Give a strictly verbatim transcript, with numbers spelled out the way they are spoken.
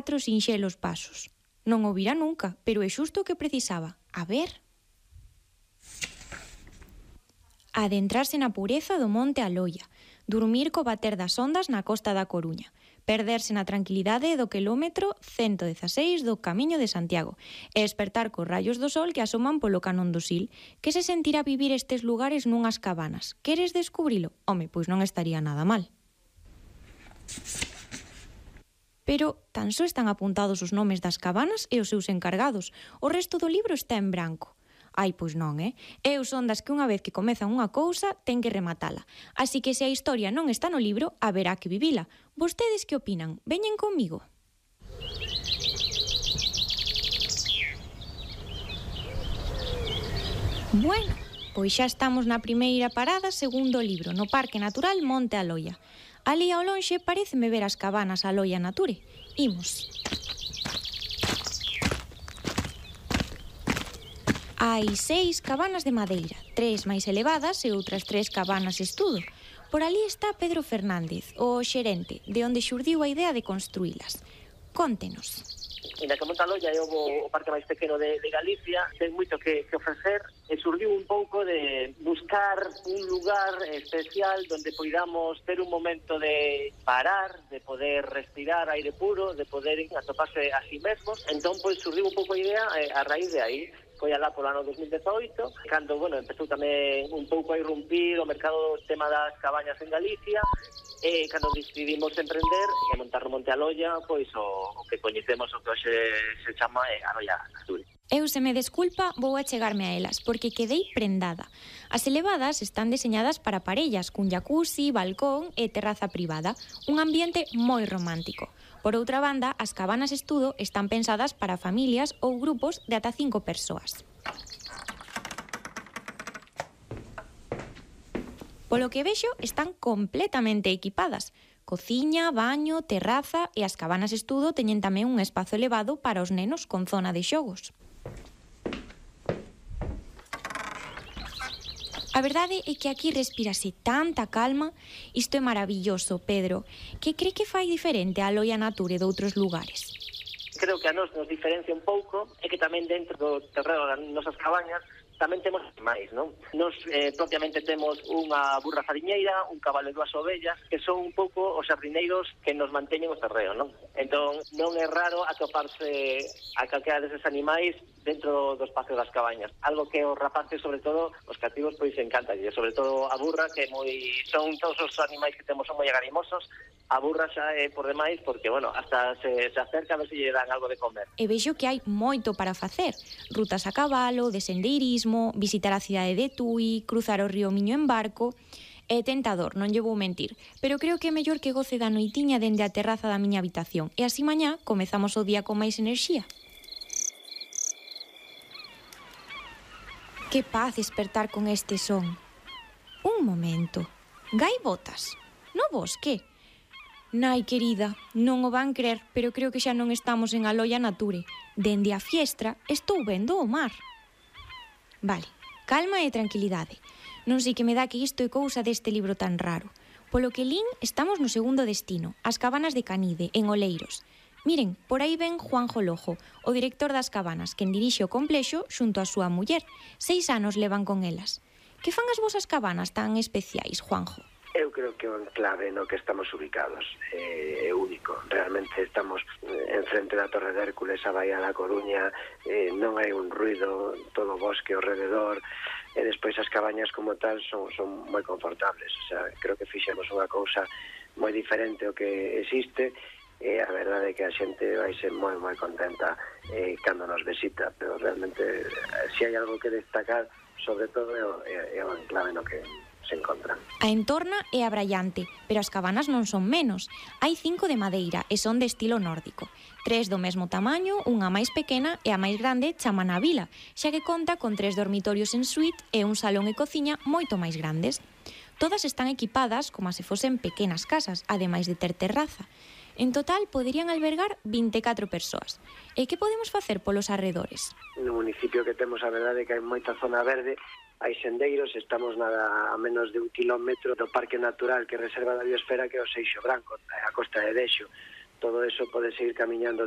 catro sinxelos pasos. Non o vira nunca, pero é xusto o que precisaba. A ver... Adentrarse na pureza do monte Aloia, dormir co bater das ondas na costa da Coruña, perderse na tranquilidade do quilómetro ciento dezaseis do Camiño de Santiago e despertar cos rayos do sol que asoman polo canón do Sil. Que se sentirá vivir estes lugares nunhas cabanas? Queres descubrilo? Home, pois non estaría nada mal. Pero tan só están apuntados os nomes das cabanas e os seus encargados. O resto do libro está en branco. Ai, pois non, eh? Eu son das que unha vez que comezan unha cousa, ten que rematala. Así que se a historia non está no libro, haberá que vivila. Vostedes que opinan? Veñen comigo. Bueno, pois xa estamos na primeira parada, segundo libro, no Parque Natural Monte Aloia. Ali ao lonxe paréceme ver as cabanas Aloia Nature. Imos. Hai seis cabanas de madeira, tres máis elevadas e outras tres cabanas estudo. Por ali está Pedro Fernández, o xerente, de onde xurdiu a idea de construílas. Cóntenos. Inda que Monte Aloia é o, o parque máis pequeno de, de Galicia, ten moito que, que ofrecer e surdiu un pouco de buscar un lugar especial donde poidamos ter un momento de parar, de poder respirar aire puro, de poder atoparse a si mesmos. Entón, pois, surdiu un pouco a idea eh, a raíz de aí. Foi alá polo ano dos mil dezoito, cando, bueno, empezou tamén un pouco a irrumpir o mercado do tema das cabañas en Galicia, e cando decidimos emprender e montar no Monte Aloia, pois o, o que coñecemos, o que hoxe se chama é Aloia Nature. Eu, se me desculpa, vou achegarme a elas, porque quedei prendada. As elevadas están deseñadas para parellas, cun jacuzzi, balcón e terraza privada, un ambiente moi romántico. Por outra banda, as cabanas estudo están pensadas para familias ou grupos de ata cinco persoas. Polo que vexo, están completamente equipadas. Cociña, baño, terraza e as cabanas estudo teñen tamén un espazo elevado para os nenos con zona de xogos. A verdade é que aquí respírase tanta calma. Isto é maravilloso, Pedro. Que cree que fai diferente a Aloia Nature de outros lugares? Creo que a nos nos diferencia un pouco é que tamén dentro do terreno das nosas cabañas tamén temos máis, non? Nos eh, propiamente temos unha burra fariñeira, un cabalo e dúas ovellas, que son un pouco os xardineiros que nos manteñen o terreo, non? Entón, non é raro atoparse a calquera deses animais dentro do espacio das cabañas. Algo que os rapaces, sobre todo, os cativos, pois encanta. E sobre todo a burra, que moi son todos os animais que temos son moi agarimosos. A burra xa é por demais, porque, bueno, hasta se, se acerca a ver se lle dan algo de comer. E vexo que hai moito para facer. Rutas a cabalo, de sendeirismo, visitar a cidade de Tui, cruzar o río Miño en barco. É tentador, non lle vou mentir, pero creo que é mellor que goce da noitiña dende a terraza da miña habitación. E así mañá comezamos o día con máis enerxía. Que paz despertar con este son. Un momento. Gaivotas? No bosque? Nai, querida, non o van crer, pero creo que xa non estamos en Aloia Nature. Dende a fiestra estou vendo o mar. Vale, calma e tranquilidade. Non sei que me dá que isto é cousa deste libro tan raro. Polo que lín, estamos no segundo destino, as cabanas de Canide, en Oleiros. Miren, por aí ven Juanjo Lojo, o director das cabanas, quen dirixe o complexo xunto a súa muller. Seis anos levan con elas. Que fan as vosas cabanas tan especiais, Juanjo? Eu creo que o enclave no que estamos ubicados é, é único. Realmente estamos en frente da Torre de Hércules, a Baía da Coruña, eh, non hai un ruido, todo o bosque ao rededor, e despois as cabañas como tal son, son moi confortables. O sea, creo que fixemos unha cousa moi diferente ao que existe, e a verdade é que a xente vai ser moi, moi contenta eh, cando nos visita, pero realmente, se hai algo que destacar, sobre todo é o, é, é o enclave no que se encontran. A entorna é abraiante, pero as cabanas non son menos. Hai cinco de madeira e son de estilo nórdico. Tres do mesmo tamaño, unha máis pequena e a máis grande chaman a vila, xa que conta con tres dormitorios en suite e un salón e cociña moito máis grandes. Todas están equipadas como se fosen pequenas casas, ademais de ter terraza. En total, poderían albergar vinte e catro persoas. E que podemos facer polos arredores? No municipio que temos, a verdade é que hai moita zona verde, hai sendeiros, estamos nada a menos de un kilómetro do Parque Natural que reserva da Biosfera, que é o Seixo Branco, a Costa de Dexo. Todo eso pode seguir camiñando